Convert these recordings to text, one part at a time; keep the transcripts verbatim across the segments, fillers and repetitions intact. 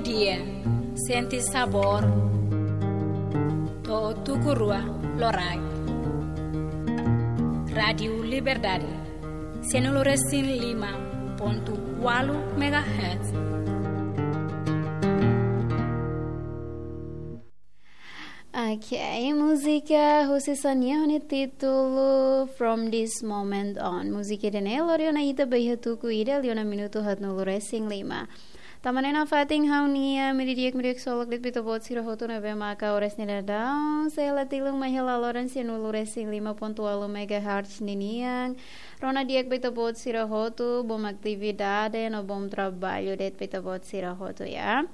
Dia, sente sabór, to'o tuku rua loraik. Rádiu Liberdade, sianulu resin lima pontu ualu megahertz. Ok, múzika husi Xania ho nia títulu From This Moment On. Múzika ida-ne'e lori ona ita ba iha tuku ida liu ona minutu haatnulu resin lima. Tanba ne'e nafatin ha'u-nia media di'ak, media ksolok de'it ba ita-boot sira hotu ne'ebé maka oras ne'e daudaun sei hela tilun mai hela loron sianulu resin lima pontu ualu megahertz ninian. Rona di'ak ba ita-boot sira hotu, bom atividade no bom trabalho de'it ba ita-boot sira hotu, ya.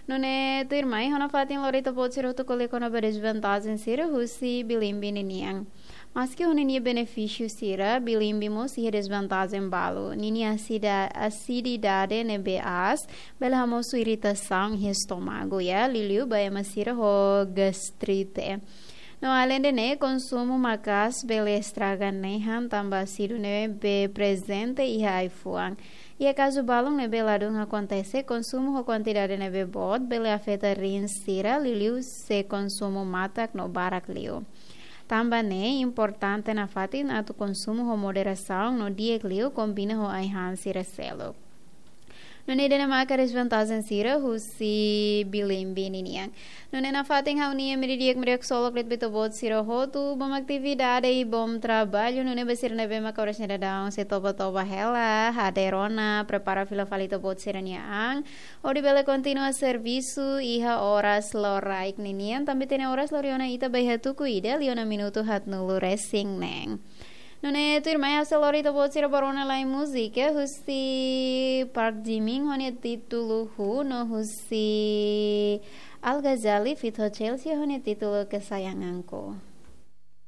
Nune'e tuirmai ha'u nafatin lori ita-boot sira hotu ko'alia kona-ba dezvantajen sira husi bilimbi ninian. Maski ho ninia benefísiu sira, bilimbi mós iha dezvantajen balu. Ninia asida-, asididade ne'ebé aas, bele hamosu iritasaun iha estómagu, ya, liuliu ba ema sira ho gastrite. No aleinde ne'e, konsumu maka'as bele estraga nehan tanba asidu ne'ebé prezente iha ai-fuan. Iha kazu balun ne'ebé ladún akontese, konsumu ho kuantidade ne'ebé boot bele afeta rins sira, liuliu se konsumu matak no barak liu. Tanba ne'e importante nafatin atu konsumu ho moderasaun no di'ak liu kombina ho ai-han sira seluk. Nune'e ida-ne'e maka dezvantajen sira husi bilimbi ninian. Nune'e nafatin ha'u-nia media di'ak, media ksolok de'it ba ita-boot sira hotu, bom atividade i bom trabalho. Nune'e ba sira ne'ebé maka oras ne'e daudaun sei toba-toba hela, hadeer ona, prepara fila fali ita-boot sira-nia an, hodi bele kontinua servisu iha oras loraik ninian, tanba ita-nia oras lori ona ita ba iha tuku ida liu ona minutu haatnulu resin neen. Nune'e tuirmai ha'u sei lori ita-boot sira ba rona lai múzika husi Park Jimin ho nia títulu Who no husi Al Ghazzali feat Chelsea ho nia títulu Kesayanganku.